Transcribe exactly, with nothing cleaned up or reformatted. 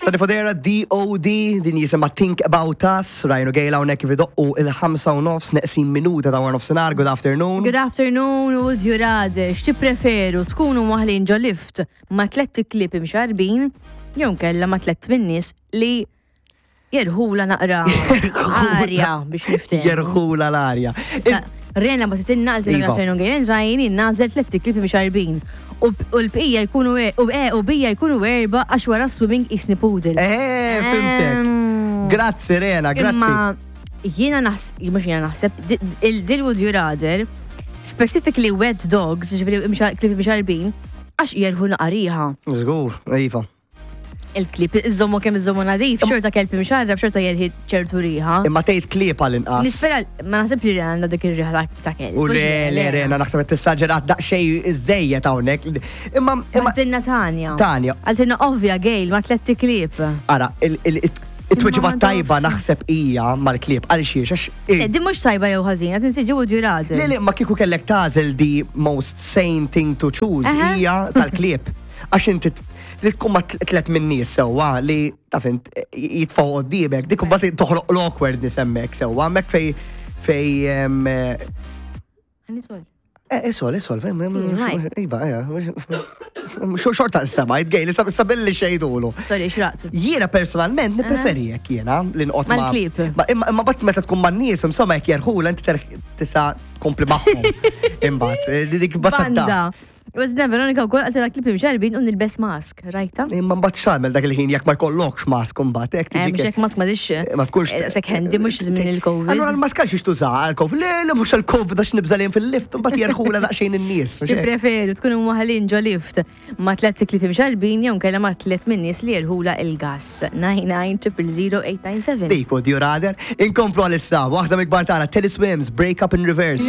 Sonny Fodera, D O D, din jisimha Think About Us. Ryan u Gail hawnhekk kif idoqqu il-ħamsa u nofs, neqsin minuta ta' nofsinhar. Good afternoon. Good afternoon, would you rather, x'tippreferu, tkunu mwaħħlin ġo lift ma' tlett iklieb imxarbin jew kella ma' tlett min-nies li jerħula naqra arja biex niftehmu? Jerħula l-arja. Sa- Rena ma titinna għaltina. Iva. Good afternoon, Gail, Ryan, nagħżel tlett iklieb imxarbin. U u l-bqija jkunu e- u e u bija jkunu erba għax wara swimming jisni poodle. Eh, fhimtek. Ehm, Grazzi, Rena, grazzi. Imma jiena naħseb, mhux jiena naħseb, di- il-dil would you rather, specifically wet dogs, ġifieri klieb imxarbin, għax jerħu naqra riħa. Żgur, iva. Il-klieb, iżommu kemm iżommu nadif, xorta kelb imxarrab, xorta jerħi ċertu riħa. Imma tgħid klieb għal-inqas. Nispera, ma naħseb li għandha dik ir-riħa ta- ta' kelb. U le, le, Rena, naħseb qed tissaġerat daqsxejn iżejjed hawnhekk. Imma, imma, Għaltinna Tanja. Tanja. Għaltinna ovvja, Gail, ma' tlett iklieb. Ara, il- il- it-tweġiba Imma tajba naħseb hija mal-klieb għal xiex, għax Eh, Din mhux tajba jew ħażina, tinsiġi would you rather. Le, le, ma kieku kellek tagħżel the most sane thing to choose Aha. hija tal-klieb. Għax inti t- li tkun ma' tlet minn nies sewwa li taf int jitfgħu qoddimek, dik imbagħad toħloq l-awkwardness hemmhekk sewwa, hemmhekk fej fej em, eh, Għani Eh, isol, isol, Right. iva, eh, xorta stamajt, Gail, sabilli xejdulu. Sorry, xraqt. Jiena personalment nipreferi jekk jiena li nqot ma' Mal-klieb. Ma imma imma bat meta tkun man-nies, insomma, jekk jerħula inti terħ tista' tkompli magħhom. Imbagħad, eh, dik Banda. battata. Was Veronika wkoll għaltina klieb imxarbin u nilbes mask, rajta? Imma mbagħad x'tagħmel dak il-ħin jekk ma jkollokx mask imbagħad hekk Eh, tiġi mhux hekk mask ma dix. Ma tkunx Sekk handy mhux żmien il-Covid. Allura l-mask għal xiex tuża għal-Covid? Le, le, mhux għal-Covid, għax nibżalin fil-lift, mbagħad jerħula daqsxejn in-nies. Mhux hekk? Tippreferu tkunu mwaħħlin ġo lift ma' tlett iklieb imxarbin jew kella ma' tlet min-nies li jerħula il-gas? nine nine zero zero eight nine seven. Dik would you rather. Inkomplu għal-issa, waħda mill-kbar tagħna, Teddy Swims, Break Up in Reverse.